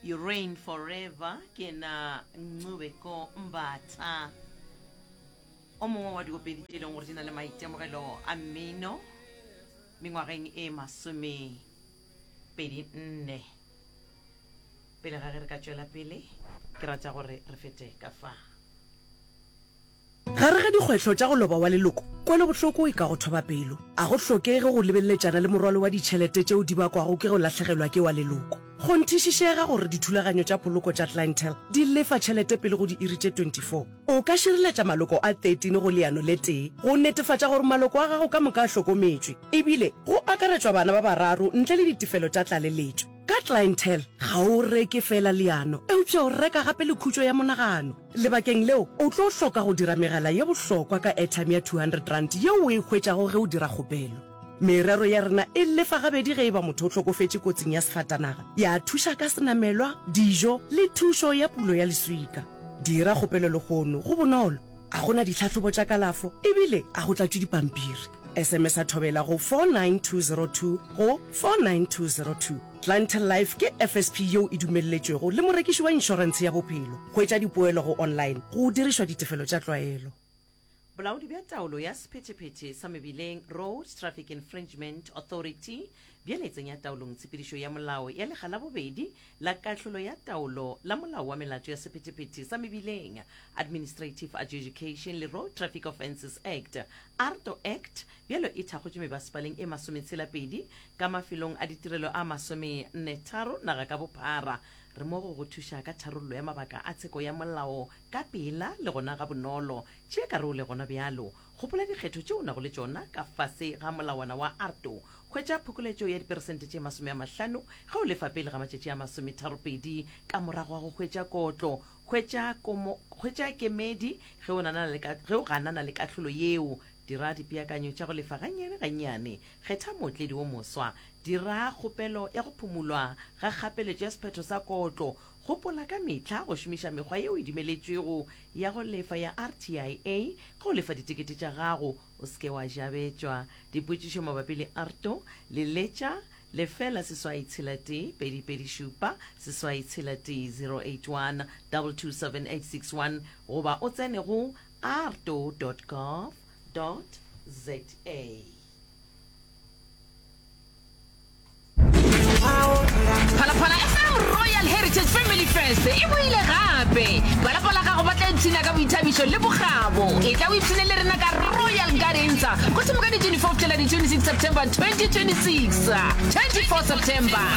You reign forever ke na Ncubeko Mbatha o mongwe wa diopedi tše e leng gore di na le maitemogelo a mmino mengwageng e 24. Pele ga ge re ka tšwela pele, ke rata gore re fete ka fa. Gare ga dikgwetlho tša go loba wa leloko, kwelobohloko e ka go thoba pelo. A go hlokege go lebeleletšana le morwalo wa ditšhelete tšeo di bakwago ke go lahlegelwa ke wa leloko. Kgonthišišega gore dithulaganyo tša poloko tša Clientele di lefa tšhelete pele go diiri tše 24. O ka šireletša maloko a 13 go leano le tee go netefatša gore maloko a gago ka moka a hlokometšwe, ebile go akaretšwa bana ba bararo ntle le ditefelo tša tlaleletšo. Ka Clientele, ga o reke feela leano, eupša o reka gape le khutšo ya monagano. Lebakeng leo, o tlo hloka go dira megala ye bohlokwa ka airtime ya R200 yeo o e hwetšago ge o dira kgopelo. Merero ya rena e lefa gabedi ge e ba motho o hlokofetše kotsing ya sefatanaga, ya thuša ka senamelwa, dijo le thušo ya pulo ya leswika. Dira kgopelo lehono, go bonolo, ga go na ditlhahlobo tša kalafo ebile ga go tlatšwe dipampiri. SMS-a Thobela go 49202 go 49202. Clientele Life ke FSP yeo e dumelletšwego le morekiši wa inšorentshe ya bophelo. Hwetša dipoelo go online go dirišwa ditefelo tša tlwaelo. Bolaodi bja Taolo ya Sephethephethe sa Mebileng, Road Traffic Infringement Authority, bjale e tsenya taolong tshepedišo ya molao ya lekga la bobedi la kahlolo ya taolo la Molao wa Melato ya Sephethephethe sa Mebileng, Administrative Adjudication le Road Traffic Offences Act, ARTO Act, bjalo e thakgotšwe mebasepaleng e masometshela-pedi ka mafelong a ditirelo a masomennetharo naga ka bophara. Re mo go go thuša ka tharollo ya mabaka a tsheko ya molao ka pela le gona gabonolo. Tšea karole gona bjalo. Gopola dikgetho tše o nago le tšona ka fase ga molawana wa ARTO. Hwetša phokoletšo ya diperesente tše 50 ge o lefa pele ga matšatši a masometharopedi ka morago ga go hwetša kotlo. Hwetša komo, hwetša kemedi ge o nana le ka, ge o ganana le kahlolo yeo. Dira dipeakanyo tša go lefa gannyane gannyane. Kgetha mootledi wo moswa. Dira kgopelo ya go phumulwa ga kgapeletšo ya sephetho sa kotlo. Gopola ka mehla go šomiša mekgwa yeo e dumeletšwego ya go lefa ya RTIA ge o lefa ditekete tša gago. O se ke wa jabetšwa. Dipotšišo mabapi le ARTO, leletša lefela seswai tshela tee pedi pedi šupa seswai tshela tee 081 227 861 goba o tsene go arto dot gov dot za. Phalaphala FM Royal Heritage Family Fest e boile gape. Ba lapa la gago ba tla ipshina ka boithabišo le bokgabo. Etla o ipshine le rena ka Royal Gardens go thoma ka di 24 go fihlela di 26 September 2026. 24 September.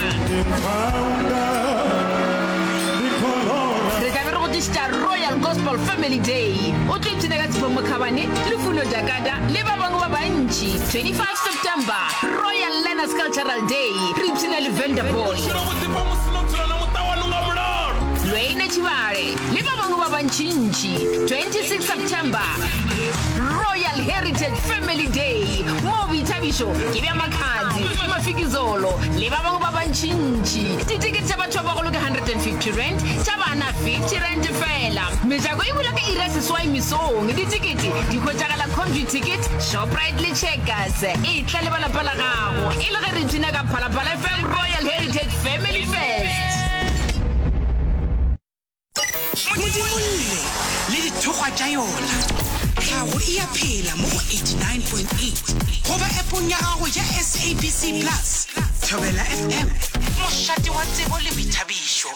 Re tla be re go tlišetša Royal Gospel Family Day. O tlo ipshina ka Tshepo Mokhabane, Lufuno Jakada le ba bangwe ba bantši. 25 September, Royal Learners Cultural Day, re ipshina le Vanderboy, Lwene Tshibale le ba bangwe ba bantšintši. 26 September, Royal Heritage Family Day, moo boithabišo ke bja Makhadzi, Mafikizolo le ba bangwe ba bantšintši. Ditekete tša batho ba bagolo ke R150, tša bana R50 fela. Mejako e bula ka iri ya seswai mesong. Ditekete di hwetšagala Computicket, Shoprite le Checkers. Etla le ba lapa la gago e le ge re ipshina ka Phalaphala FM Royal Heritage Family Fest. Modimolle le dithokgwa tša yona. Tlhago e a phela mo go 89.8 goba appong ya gago ya SABC Plus. Thobela FM, mošate wa tsebo le boithabišo.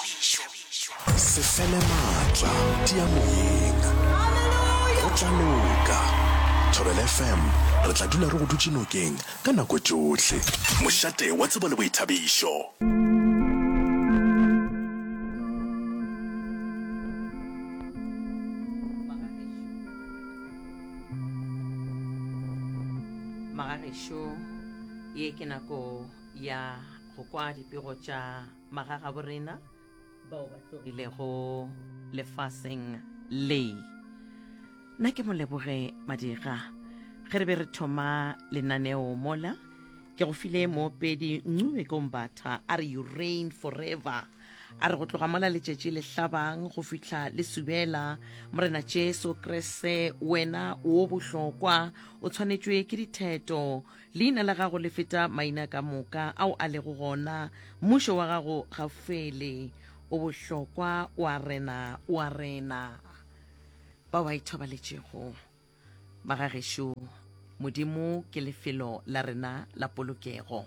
Se fele maatla, tia moyeng. Go tla loka. Thobela FM, re tla dula re go dutše nokeng ka nako tšohle. Mošate wa tsebo le boithabišo. Magagešo, ye ke nako ya go kwa dipego tša magagaborena. bao ba tlogilego lefaseng le. Nna ke moleboge Madira. Ge re be re thoma lenaneo mola, ke go file moopedi Ncube Kombatha a re you reign forever. A re go tloga mola letšatši le hlabang go fihla le subela, Morena Jesu Kriste wena wo bohlokwa, o tshwanetšwe ke ditheto Leina la gago le feta maina ka moka ao a lego gona. Mmušo wa gago ga o fele. O bohlokwa, o a rena, o a rena. Bao ba ithobaletšego, magagešo, Modimo ke lefelo la rena la polokego.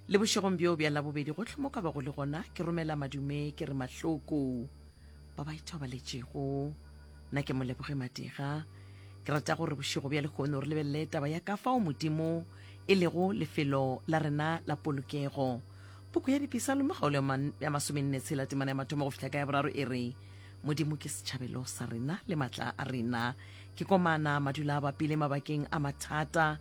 Le bošegong bjo bja Labobedi gohle mo ka bago le gona, ke romela madume ke re mahloko ba ba ithobaletšego. Nna ke Moleboge Madira. Ke rata gore bošego bja lehono re lebelele taba ya ka fao Modimo e lego lefelo la rena la polokego. Puku ya Dipisalome kgaolo ya masomenne tshela temana ya mathomo go fihla ka ya boraro e re, Modimo ke setšhabelo sa rena le matla a rena, ke komana madula a bapile mabakeng a mathata.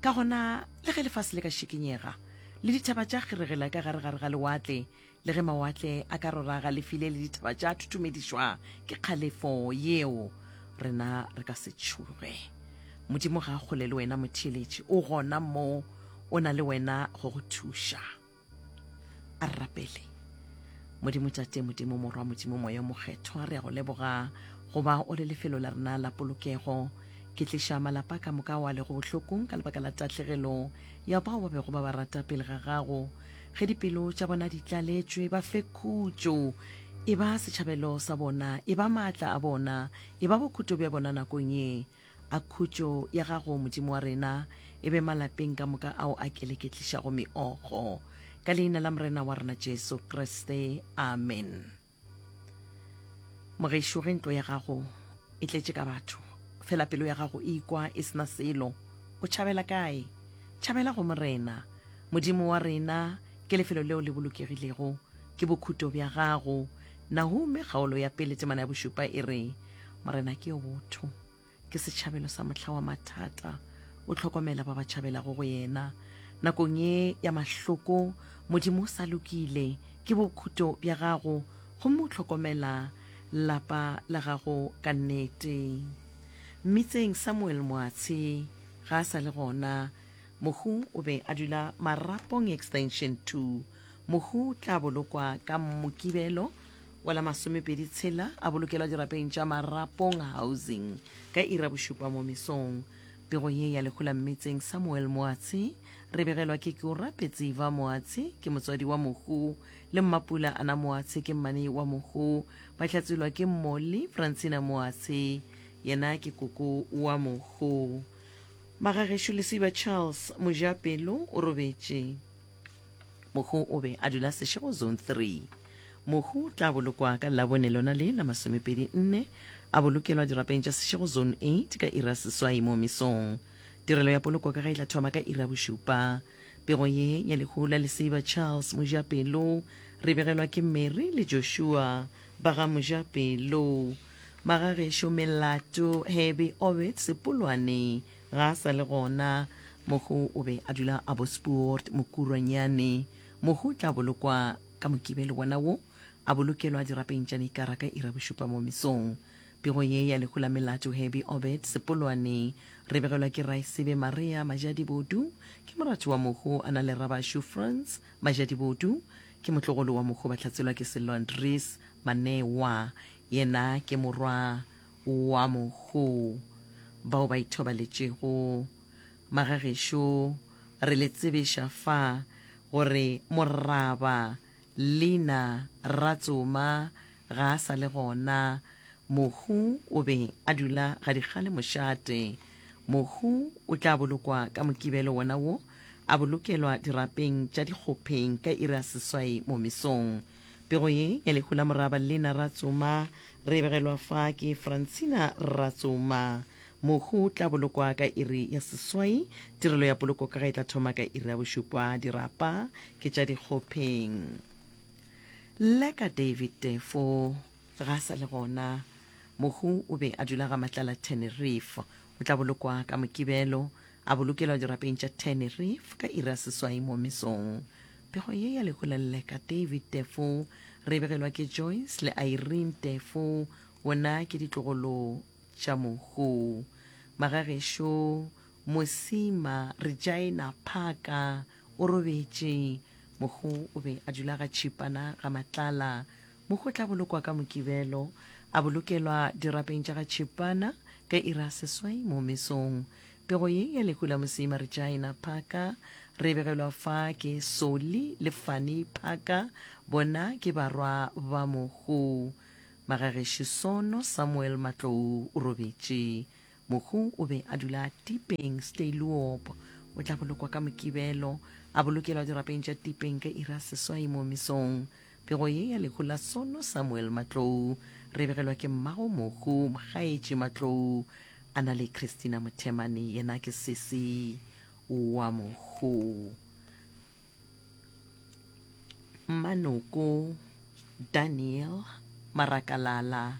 Ka gona, le ge lefase le ka šikinyega, le dithaba tša kgeregela ka gare-gare ga lewatle, le ge mawatle a ka rora galefile le dithaba tša thuthumedišwa ke kgalefo yeo, rena re ka se tšhoge. Modimo ga a kgole le wena motheeletši, o gona mo, o na le wena go go thuša. A re rapele. Modimo Tate, Modimo Morwa, Modimo Moya o Mokgethwa, re a go leboga go ba o le lefelo la rena la polokego. Ke tliša malapa ka moka ao a lego bohlokong ka lebaka la tahlegelo ya bao ba bego ba ba rata pele ga gago. Ge dipelo tša bona di tlaletšwe, ba fe khutšo. E ba setšhabelo sa bona, e ba maatla a bona, e ba bokhuto bja bona nakong ye. A khutšo ya gago, Modimo wa rena, e be malapeng ka moka ao a keleketlišago meokgo. Ka leina la Morena wa rena Jesu Kriste, amen. Mogešo, ge ntlo ya gago e tletše ka batho, fela pelo ya gago e ikwa e sena selo, o tšhabela kae? Tšhabela go Morena. Modimo wa rena ke lefelo leo le bolokegilego, ke bokhuto bja gago. Nahume kgaolo ya pele temana ya bošupa e re, Morena ke yo botho, ke setšhabelo sa mohla wa mathata, o hlokomela ba ba tšhabelago go yena. Nakong ye ya mahloko, Modimo o sa lokile, ke bokhuto bja gago, gomme o hlokomela lapa la gago ka nnete. Mmitseng Samuel Moatshe ga a sa le gona. Mohu o be a dula Marapong Extension 2. Mohu o tla bolokwa ka Mokibelo wa la masomepedi tshela a bolokelwa dirapeng tša Marapong Housing ka iri ya bošupa mo mesong. Pego ye ya lehu la Mmetseng Samuel Moatshe re begelwa ke Keorapetse Eva Moatshe ke motswadi wa mohu le Mmapula Ana Moatshe ke mmane wa mohu. Ba hlatselwa ke Molly Francina Moatshe yena ke koko wa mohu. Magagešo Lesiba Charles Mojapelo o robetše. Mohu o be a dula Seshego Zone 3. Mohu o tla bolokwa ka Labone lona le la masomepedi nne, a bolokelwa dirapeng tša Seshego Zone 8 ka iri ya seswai mo mesong. Tirelo ya poloko ka ge e tla thoma ka iri ya bošupa. Pego ye ya lehu la Leseiba Charles Mojapelo re begelwa ke Mary le Joshua ba ga Mojapelo. Magagešo Melato Hebe Obed Sepolwane Ga a sa le gona. Mohu o be a dula Abbotspoort, Mokurwanyane. Mohu o tla bolokwa ka Mokibelo wona wo, a bolokelwa dirapeng tša Nikara ka iri ya bošupa mo mesong. Pego ye ya lehu la Melato Herbie Obed Sepolwane re begelwa ke Raesebe Maria Majadibodu, ke moratho wa mohu a na le Rabašu Frans Majadibodu, ke motlogolo wa mohu ba hlatselwa ke Sello Andries Manewa, yena ke morwa wa mohu bao ba ithobaletšego. Magagešo, re le tsebiša fa gore Moraba Lina Ratsoma ga a sa le gona. Mohu o be a dula Gadikgale mošate. Mohu o tla bolokwa ka Mokibelo wona wo, a bolokelwa dirapeng tša Dikgopheng ka iri ya seswai mo mesong. Pego ye ya lehu la Moraba Lena Ratsoma re e begelwa fa ke Francina Ratsoma. Mohu o tla bolokwa ka iri ya seswai. Tirelo ya poloko ka ga e tla thoma ka iri ya bošupa. Dirapa ke tša Dikgopheng. Leka David Tefo ga a sa le gona. Mohu o be a dula ga Matlala Tenerife. O tla bolokwa ka Mokibelo, a bolokelwa dirapeng tša Tenerife ka iri ya seswai mo mesong. Pego ye ya lehu la Lleka David Tefo re e begelwa ke Joyce le Irene Tefo, bona ke ditlogolo tša mohu. Magagešo Mosima Regina Phaka o robetše. Mohu o be a dula ga Tšhipana ga Matlala. Mohu o tla bolokwa ka Mokibelo, a bolokelwa dirapeng tša ga Tšhipana ka iri ya seswai mo mesong. Pego ye ya lehu la Mosima Regina Phaka. Re begelwa fa ke Soli le Fanny Phaka, bona ke barwa ba mohu. Magagešu Sono Samuel Matlou o robetše. Mohu o be a dula Tipeng Steyloop. O tla bolokwa ka Mokibelo, a bolokelwa dirapeng tša Tipeng ka iri ya seswai mo mesong. Pego ye ya lehu la Sono Samuel Matlou re begelwa ke mmago mohu Mokgaetši Matlou a na le Christina Mothemane, yena ke sesi wa mohu. Mmanoko Daniel Marakalala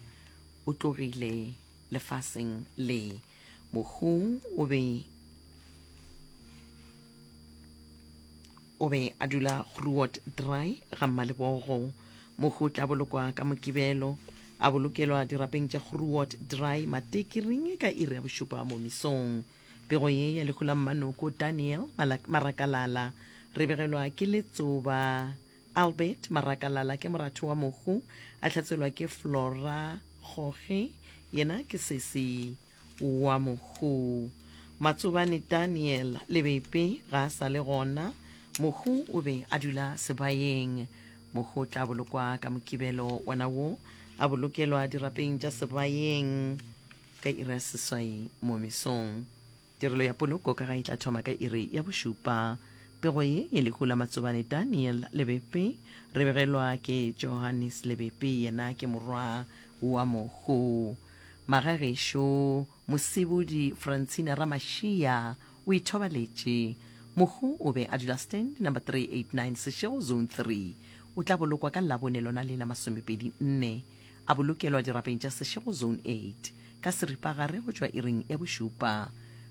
o tlogile lefaseng le. Mohu o be O be a dula Groot Draai ga Mmalebogo. Mohu o tla bolokwa ka Mokibelo, a bolokelwa dirapeng tša Groot Draai Matekiring ka iri ya bošupa mo mesong. Pego ye ya lehu la Mmanoko Daniel Marakalala re begelwa ke Letsoba Albert Marakalala ke moratho wa mohu, a hlatselwa ke Flora Goge, yena ke sesi wa mohu. Matsobane Daniel Lebepe ga a sa le gona. Mohu o be a dula Sebayeng. Mohu o tla bolokwa ka Mokibelo wona wo, a bolokelwa dirapeng tša Sebayeng ka iri ya seswai mo mesong. Tirelo ya poloko ka ga e tla thoma ka iri ya bošupa. Pego ye ye lehu la Matsobane Daniel Lebepe re begelwa ke Johannes Lebepe, yena ke morwa wa mohu. Magagešo Mosebodi Francina Ramashia o ithobaletše. Mohu o be a dula stand number 389 Seshego Zone 3. O tla bolokwa ka Labone lona le la masomepedi nne. A bolokelwa dirapeng tša Seshego Zone 8 ka seripagare go tšwa iring ya bošupa.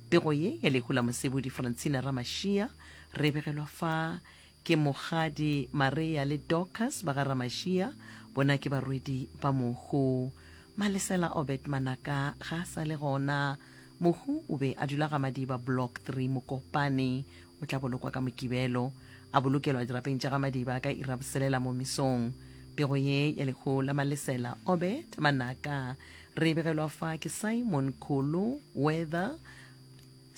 Pego ye ya lehu la Mosebodi Francina Ramashia re begelwa fa Ke Mokgadi Maria le Dorcas ba ga Ramashia, bona ke barwedi ba mohu. Malesela Obed Manaka ga a sa le gona. Mohu o be a dula ga Madiba Block 3 Mokopane. O tla bolokwa ka Mokibelo, a bolokelwa dirapeng tša ga Madiba ka iri ya boselela mo mesong. Pego ye ya lehu la Malesela Obed Manaka re e begelwa fa ke Simon Kholo Weather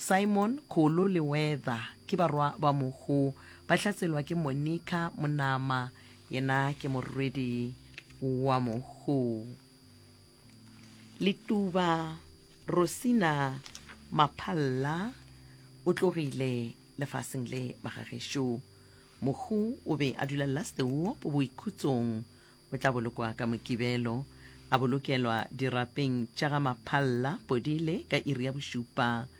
Simon, Kholo le Weather ke barwa ba mohu. Ba hlatselwa ke Monica Monama, yena ke morwedi wa mohu. Letuba Rosina Maphalla o tlogile lefaseng le magagešo. Mohu o be a dula Lastewop boikhutsong. O tla bolokwa ka Mokibelo, a bolokelwa dirapeng tša ga Maphalla, Podile, ka iri ya bošupa.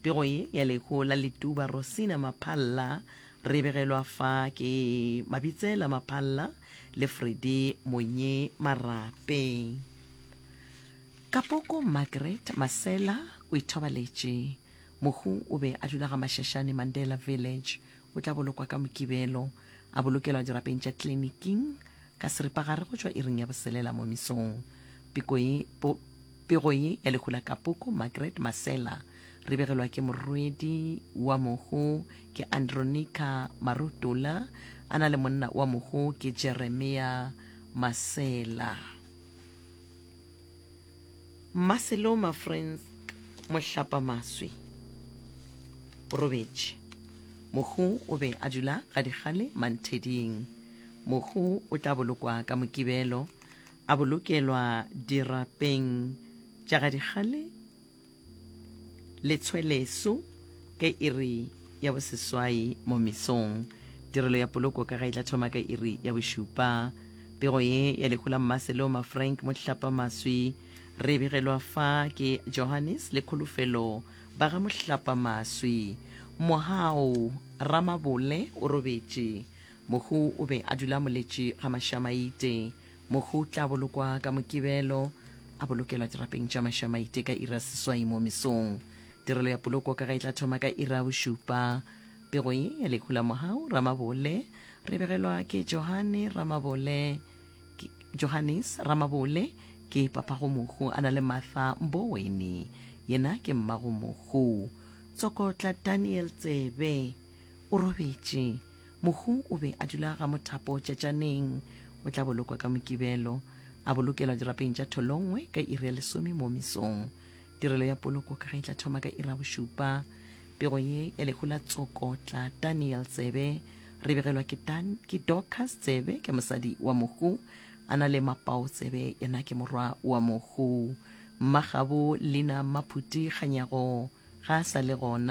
Pego ye ya lehu la Letuba Rosina Maphalla re e begelwa fa ke Mabitsela Maphalla le Freddie Monye Marape. Kapoko Margaret Masela o ithobaletše. Mohu o be a dula ga Mashashane Mandela Village. O tla bolokwa ka Mokibelo, a bolokelwa dirapeng tša kliniking ka seripagare go tšwa iring ya boselela mo mesong. Peko ye, po, pego ye ya lehu la Kapoko Margaret Masela re begelwa ke morwedi wa mohu ke Andronica Marutola, a na le monna wa mohu ke Jeremia Masela. Mmaseloma Frank Mohlapamaswi o robetše. Mohu o be a dula Gadikgale Mantheding. Mohu o tla bolokwa ka Mokibelo, a bolokelwa dirapeng tša Gadikgale Letshweleso ka iri ya boseswai mo mesong. Tirelo ya poloko ka ga e tla thoma ka iri ya bošupa. Pego ye ya lehu la Mmaseloma Frank Mohlapamaswi re e begelwa fa ke Johannes le Kholofelo ba ga Mohlapamaswi. Mohau Ramabole o robetše. Mohu o be a dula Moletši ga Mašamaite. Mohu o tla bolokwa ka Mokibelo, a bolokelwa dirapeng tša Mašamaite ka iri ya seswai mo mesong. Tirelo ya poloko ka ga e tla thoma ka iri ya bošupa. Pego ye ya lehu la Mohau Ramabole re begelwa ke Johane Ramabole, Johannes Ramabole ke papago mohu a na le Martha Mboweni, yena ke mmago mohu. Tsokotla Daniel Tsebe o robetše. Mohu o be a dula ga Mothapo Tšatšaneng. O tla bolokwa ka Mokibelo, a bolokelwa dirapeng tša Tholongwe ka iri ya lesome mo mesong. Tirelo ya poloko ka ge e tla thoma ka iri ya bošupa. Pego ye ya lehu la Tsokotla Daniel Tsebe re begelwa ke, Dan, ke Dorcas Tsebe ke mosadi wa mohu a na le Mapao Tsebe yena ke morwa wa mohu. Mmagabo Lina Maphuti Kganyago ga a sa le gona.